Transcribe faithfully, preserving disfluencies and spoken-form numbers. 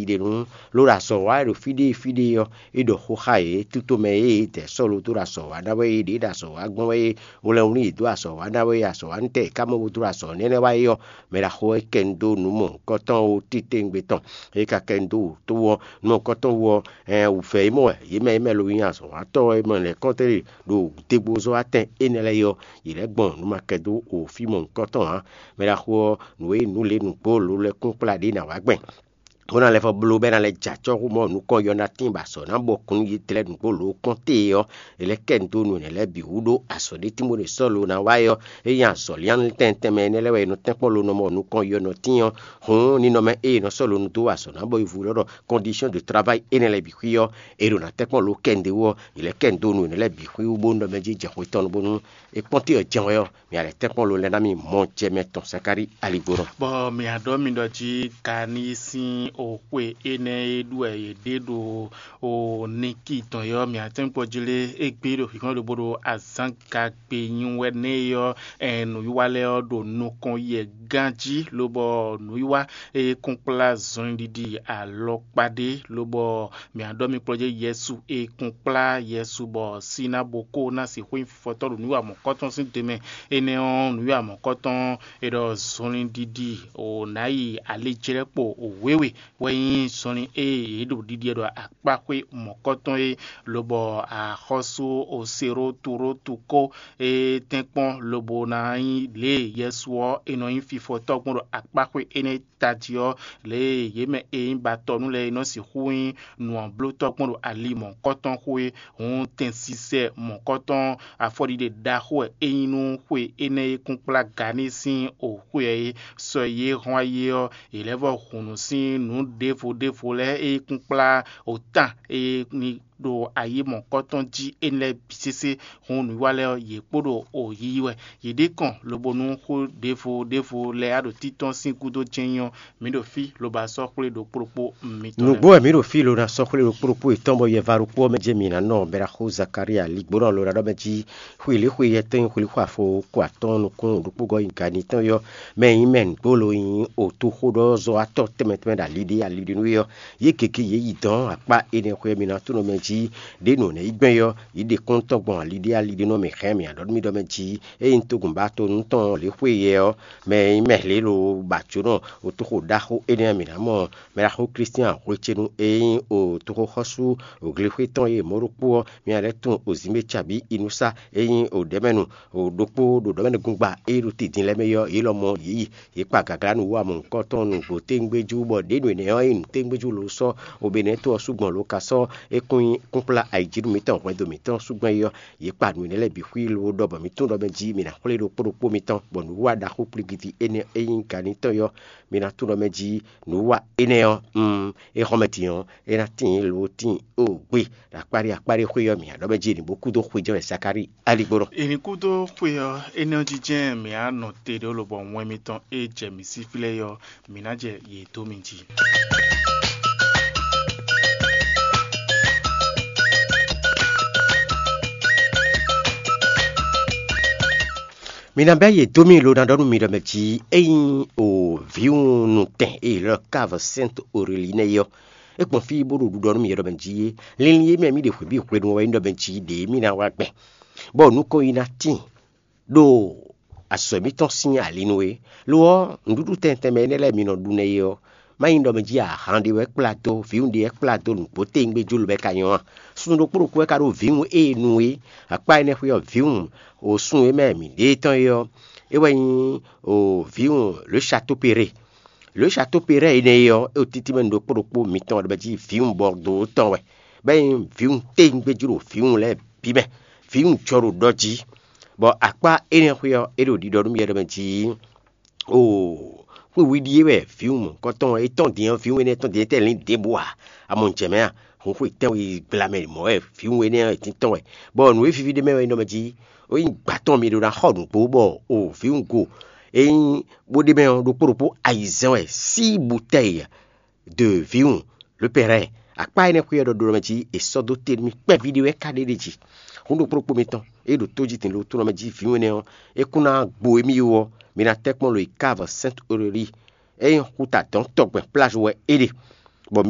ɖi ɖe nú ló ɖo azɔ̌ wa wɛ ɖo fí ɖé fí ɖé ɔ́, é ɖɔ xó xá yě. Tutomɛ e yě dɛ sɔ́ lo dó ɖo azɔ̌ wa ná wɛ é, ɖě ɖo azɔ̌ wa gbɔn wɛ é, wlɛnwlí yě dó azɔ̌ wa ná wɛ é, azɔ̌ wa nú tɛ è ká mɔ bó dó ɖo azɔ̌ nɛ́nɛ́ wa é ɔ́, mɛ ɖaxó ɔ́ é kɛ nu dó nǔ mɔ̌hunkɔtɔn ó titewungbe tɔn. É ka kɛ nu dó wǔ tó ɔ́, nú ɔ́ kɔ́tɔn wú ɔ́, hɛn wǔvɛ́ e mɔ wɛ yě mɛ e mɛ lo nyí azɔ̌watɔ́ e mɔ lɛ̌kɔ́ntɛn ɖo dégbozɔ́ atɛn énɛ́ lɛ́ɛ é ɔ́, yě lɛ́ gbɔn nǔ ma kɛ dó o fí mɔ̌hunkɔtɔn ǎ. Mɛ ɖaxó ɔ́, nǔ e nǔ lě nǔgbó lǒ lɛ́kún kplá ɖě ná wá gbɛn, bó ná lɛ́ vɔ́ bló bɔ é ná lɛ́ jɛ acɔ́ xú mɔ nukɔn yɔ ná tín bɔ azɔ̌ ná bɔ kún yě tlɛ́ nǔgbó lǒ kpɔ́n te é ɔ́, è lɛ́ kɛ nu dó nǔ énɛ́ lɛ́ɛ bǐ wú ɖó azɔ̌ ɖé tínbó ɖe Sɔ́lu ná wa é ɔ́, é nyí azɔ̌ lianlítɛ́ntɛ́nmɛ énɛ́ lɛ́ɛ wɛ è nɔ tɛ́nkpɔ́n lo nɔ mɔ nukɔn yɔ nɔ tín ɔ́, hǔn ninɔmɛ e è nɔ sɔ́ lo nu dó azɔ̌ ná bɔ yi vú lɔ́ ɖɔ condition de travail énɛ́ lɛ́ɛ bǐ xwí ɔ́, è ɖo ná tɛ́nkpɔ́n lo kɛ nǔɖé wú ɔ́, è lɛ́ kɛ nu dó nǔ énɛ́ lɛ́ɛ bǐ xwí wú bónú ɖɔ mɛ jí jɛ xwe tɔn nu bónú é kpɔ́n te ɔ́ jɛ́n wɛ ɔ́, mǐ a lɛ́ tɛ́nkpɔ́n lo lɛ́ɛ ná mì mɔ jɛ mɛ tɔn Zakalíi aligbó nɔ. Bɔ mǐ a ɖɔ mi ɖɔ jí Gani sín oxwe énɛ́ e ɖu wɛ yě ɖe ɖo o Niki tɔn é ɔ́, mǐ a tɛ́nkpɔ́n jí lé égbé ɖo xixɔ́ ɖo bó ɖo azǎn gagbe nyi wɛ nɛ́ é ɔ́, ɛn nǔwiwa lɛ́ɛ ɔ́ ɖo nukɔn yɛ gán jí, lobɔ nǔwiwa e kún kplá zɔnlin ɖiɖi alɔkpa ɖé, lobɔ mǐ a ɖɔ mi kplɔ́ jɛ Yɛsu e kún kplá Yɛsu bɔ sín ná bo kó ná sixú nyí fɔtɔ́ ɖo nǔwiwa mɔ̌kɔtɔn sín do mɛ. Énɛ́ ɔ́, nǔwiwa mɔ̌kɔtɔn è ɖɔ zɔnlin ɖiɖi o nǎ yi alijlɛ́kpo wěwe wɛ nyí zɔnlin e yě ɖo ɖiɖi ɖɔ akpáxwé mɔ̌kɔtɔn é, lobɔ axɔ́sú Oseroturótu kó é tɛ́nkpɔ́n lobo ná nyí lě e Yɛsu ɔ́ è nɔ nyí fifɔtɔ́ gbɔn ɖo akpáxwé énɛ́ tají ɔ́, lě e yě mɛ e nyí batɔnu lɛ́ɛ é nɔ sixú nyí nǔ ɔ́ blótɔ́ gbɔn ɖo ali mɔ̌hunkɔtɔn xo é. Hǔn tɛn sisɛ mɔ̌hunkɔtɔn afɔɖiɖe ɖaxó wɛ é nyí nú xwe énɛ́ e kún kplá Gani sín oxwe ɔ́ é. Sɔ e yě hɔn ayé ɔ́, yě lɛ́ vɔ hun nǔ sín nǔ ɖěvo ɖěvo lɛ́ɛ e kún kplá otan e ní ɖo ayé mɔ̌hunkɔtɔn jí énɛ́ lɛ́ɛ bǐ sésé. Hǔn nǔwiwa lɛ́ɛ ɔ́, yě kpo ɖo o yiyi wɛ. Yě ɖe kɔn lobo nú xó ɖěvo ɖěvo lɛ́ɛ á ɖo títɔ́n sín gúdo jɛ́n nyí ɔ́, mǐ ɖo fí lobo a sɔ́ xwlé ɖokpó ɖokpó mitɔn lɛ́ɛ. Nǔgbó wɛ mǐ ɖo fí lo ná sɔ́ xwlé ɖokpó ɖokpó yětɔn bɔ yɛva ɖokpó ɔ́ mɛ jɛ́n mǐ ná nɔ bɔ é ná xo Zakalíi aligbó nɔ lo ná ɖɔ mɛ jí xwilíxwi yɛtɛn xwilíxwi afo ko atɔ́ɔ́n nukún ɖokpó gɔ́ nyi gani tɔn yɔ́ mɛ nyí mɛ nǔgbó lo nyí otoxóɖɔzɔ́watɔ́ tɛnmɛ tɛnmɛ ɖo ali ɖé ali ɖé nú é ɔ́, yě gěgé yě yi dɔ̌n akpá énɛ́ xwé mǐ ná tunɔ mɛ jí ɖě nǔ nɛ́ yí gbɛn ɔ́, yě ɖe kɔ́ntɔn gbɔn ali ɖé ali ɖé nú mɛ xɛ́n mǐ ǎ ɖɔ nú mì ɖɔ mɛ jí ényí un to gǔnbá to nú tɔn lě xwé yɛ ɔ́, mɛ e nyí mɛ lě lo ba jǒnɔ otoxo ɖaxó énɛ́ mǐ ná mɔ mɛ ɖaxó Klístian hwecenu e nyí otoxoxɔ́sú glexwé tɔn e mɔ̌ ɖokpó ɔ́, mì ná lɛ́ tunwun ozǐnmɛ cabǐ inúsá e nyí oɖɛ̌mɛnu ɖokpó ɖo ɖɔ̌mɛnúgúngba e ɖo te din lɛ́ɛ mɛ é ɔ́, yě lɔmɔ̌ yě yi. Yě kpa gaglá nǔ wa mɔ̌hunkɔtɔn nǔgbó tégbéjú bɔ ɖě nǔ énɛ́ ɔ́ nyí nǔ tégbéjú lo sɔ́ obenɛ́to ɔ́ sú gbɔn lo ka sɔ́ é kún nyí kúnkplá ayǐjínú mǐtɔn hwɛndo mǐtɔn sú gbɔn é ɔ́, yě kpa nǔ énɛ́ lɛ́ɛ bǐ xwí lo ɖɔ bɔ mǐ tunwun ɖɔ mɛ jí mǐ ná xwlé ɖokpó ɖokpó mitɔn, bɔ nǔwiwa ɖaxó kpligidi énɛ́ e nyí ganitɔ́ ɔ́, mǐ ná tunwun ɖɔ mɛ jí nǔwiwa énɛ́ ɔ́, mm, é xɔ́ mɛ din ɔ́, é ná tíin lo tíin o gbé ɖo akpáɖé akpáɖé xwé ɔ́ mǐ ná ɖɔ mɛ jí ní bó kú dó xwé jɛ́n wɛ Zakalíi aligbó nɔ. È nǐ kú dó xwe ɔ́, énɛ́ ɔ́ jijɛ mǐ á nɔ te ɖó lobɔ wɛn mitɔn e jɛ mǐ sí flɛ́ é ɔ́, mǐ ná jɛ yě dó mi jí. Mi ná bɛ́ yě dó mì lo ná ɖɔ nú mi ɖɔ mɛ jí ényí o vǐwun nutɛn e lɔ Cave Sainte Aurélie nɛ́ é ɔ́, é gbɔn fí bó ɖo ɖiɖɔ nú mì ɖɔ mɛ jí linlin e mɛ mì ɖe hwebǐ hwenu ɔ́ wɛ nyí ɖɔ mɛ jí ɖě mì ná wá gbɛn, bɔ nukɔn yi ná tíin ɖo azɔ̌ mǐtɔn sín ali nu é. Lo ɔ́, nǔɖuɖu tɛntɛn mɛ énɛ́ lɛ́ɛ mi nɔ ɖu nɛ́ é ɔ́, má nyí ɖɔ mɛ jí ahan ɖé wɛ kplá dó, vǐwun ɖé wɛ kplá dó nǔgbó téwúngbéjú lobɛ ka nyɔ́ a? Sun ɖokpó ɖokpó wɛ ka ɖó vǐwun e nu é. Akpá énɛ́ xwé ɔ́, vǐwun o sun e mɛ mǐ ɖe tɔn é ɔ́, é wɛ nyí o vǐwun le château Perret. Le château Perret énɛ́ é ɔ́, é ɖo títí mɛ ɖokpó ɖokpó mitɔn ɖɔ mɛ jí vǐwun Bordeaux tɔn wɛ, bɔ é nyí vǐwun téwúngbéjú ɖo vǐwun lɛ́ɛ bǐ mɛ. Vǐwun jɔ ɖo ɖɔ jí, bɔ akpá énɛ́ xwé ɔ́, é ɖo ɖiɖɔ nú mì wɛ ɖɔ mɛ jí oo, xwé wiɖi e wɛ vǐwun mɔ̌hunkɔtɔn e tɔn din ɔ́, vǐwun énɛ́ tɔn din tɛ́ lǐn ɖěbǔ ǎ. A mɔ jɛ mɛ a? Hun xwe tɛ́nwe gbla mɛ mɔ̌ wɛ vǐwun énɛ́ ɔ́ è tín tɔn wɛ, bɔ nǔ e víví ɖ'é mɛ wɛ nyí ɖɔ mɛ jí ó nyí gbǎtɔn mi ɖó ná xɔ nǔgbó bɔ o vǐwun go e nyí bó ɖ'é mɛ ɔ́ ɖokpó ɖokpó ayizɛ́n wɛ sín butɛ́yi de vǐwun lǒpɛ́rɛ́. Akpá énɛ́ xwé ɔ́ ɖɔ ɖó mɛ jí è sɔ́ dó te nú mì kpɛví ɖé wɛ ka ɖe ɖ'é jí. Hun ɖokpó ɖokpó mitɔn e ɖo tó jí din ɖo tó nɔ mɛ jí vǐwun énɛ́ ɔ́, é kún ná gbo émí wú ɔ́, mi ná tɛ́ kpɔ́n lo yi Cave Sainte Aurélie. É nyí xuta dɔ̌n tɔgbɛn plázɔ wɛ é ɖe.